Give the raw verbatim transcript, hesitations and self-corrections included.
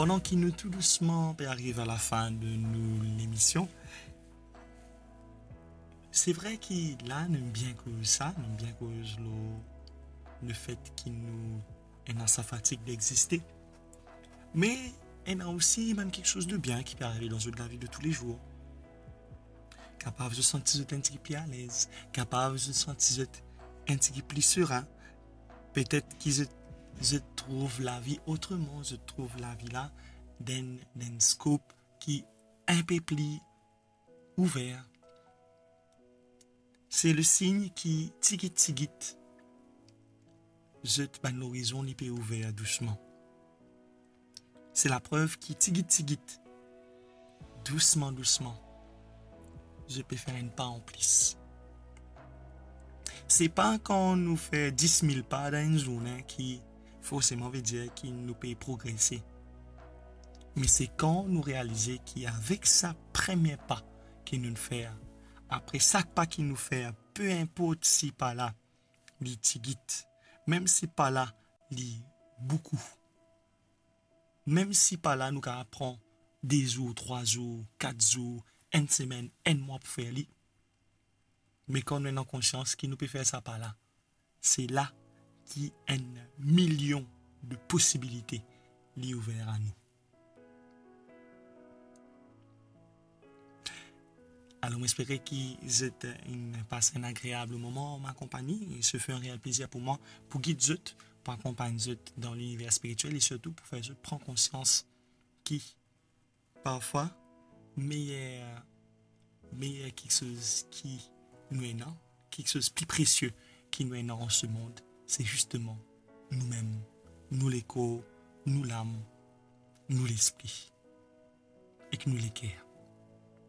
Pandan ki nou tou dousman pe ariv a lafin de nou lemision, se vre ki la nou bien koz sa, nou bien koz lor lefet ki nou ena sa fatig d'existe. Me ena osi bann kiksoz de bien ki pe arive dan zot lavi de toulezour. Kapav zot santi zot enn tigit pli alez, kapav zot santi zot enn tigit pli serin. Petet ki zot, zot trouv lavi otreman, zot trouv lavi la dan, dan enn skop ki inpe pli ouver. Se le sign ki tigit tigit, zot bann lorizon li pe ouver dousman. Se laprev ki tigit tigit, dousman dousman, zot pe fer enn pa anplis. Se pa kan nou fer dis mil pa dan enn zourne ki forseman ve dir ki nou pe progrese. Me se kan nou realize ki avek sa premie pa ki nou fer, apre sak pa ki nou fer, pe inport si pa la li tigit, mem si pa la li boukou, mem si pa la nou kapav pran de zour, trwa zour, kat zour, enn semenn, enn mwa pou fer li. Me kan nou ena konsians ki nou pe fer sa pa la, se la ki enn milion de posibilite li ouver a nou. Alor, mo espere ki zot inn pas enn agreab moman an ma konpagni. E se fer enn reel plezir pou mwa pou gid zot, pou akonpagn zot dan liniver spiritiel e sirtou pou fer zot pran konsians ki parfwa meyer, meyer kiksoz ki nou ena, kiksoz pli presie ki nou ena an se mond, se zisteman noumem, nou lekor, nou lam, nou lespri ek nou leker.